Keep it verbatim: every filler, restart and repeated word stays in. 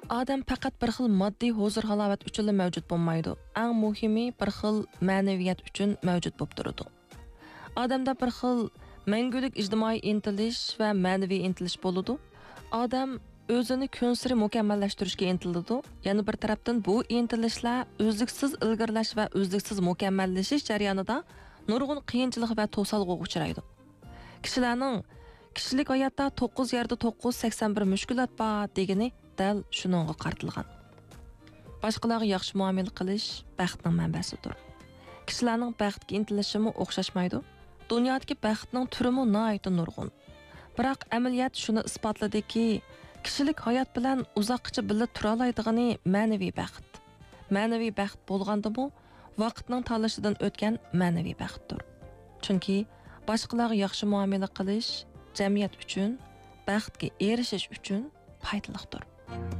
ئادەم پەقەت بىر خىل ماددىي ھۇزۇر-ھالاۋەت ئۈچۈنلا مەۋجۇت بولمايدۇ. ئەڭ مۇھىمى، بىر خىل مەنىۋىيەت ئۈچۈن مەۋجۇت بولۇپ تۇرىدۇ. ئادەمدە بىر خىل مەڭگۈلۈك ئىجتىمائىي ئىنتىلىش ۋە مەنىۋى ئىنتىلىش بولىدۇ. ئادەم ئۆزىنى كۈنسېرى مۇكەممەللەشتۈرۈشكە ئىنتىلىدۇ. يەنە بىر تەرەپتىن، بۇ ئىنتىلىشلار ئۈزلۈكسىز ئىلگىرىلەش ۋە ئۈزلۈكسىز مۇكەممەللىشىش جەريانىدا نۇرغۇن قىيىنچىلىق ۋە توسالغۇغا ئۇچرايدۇ. كىشىلەرنىڭ «كىشىلىك ھاياتتا توققۇز يەردە توققۇز، سەكسەن بىر مۈشكۈلات بار» دېگىنى دەل شۇنىڭغا قارىتىلغان. باشقىلارغا ياخشى مۇئامىلە قىلىش بەختنىڭ مەنبەسىدۇر. كىشىلەرنىڭ بەختكە ئىنتىلىشىمۇ ئوخشاشمايدۇ. دۇنيادىكى بەختنىڭ تۈرىمۇ ناھايىتى نۇرغۇن. بىراق ئەمەلىيەت شۇنى ئىسپاتلىدىكى، كىشىلىك ھايات بىلەن ئۇزاققىچە بىللە تۇرالايدىغىنى مەنىۋى بەخت. مەنىۋى بەخت بولغاندىمۇ، ۋاقىتنىڭ تاللىشىدىن ئۆتكەن مەنىۋى بەختتۇر. چۈنكى باشقىلارغا ياخشى مۇئامىلە قىلىش جەمئىيەت ئۈچۈن، بەختكە ئېرىشىش ئۈچۈن پايدىلىقتۇر.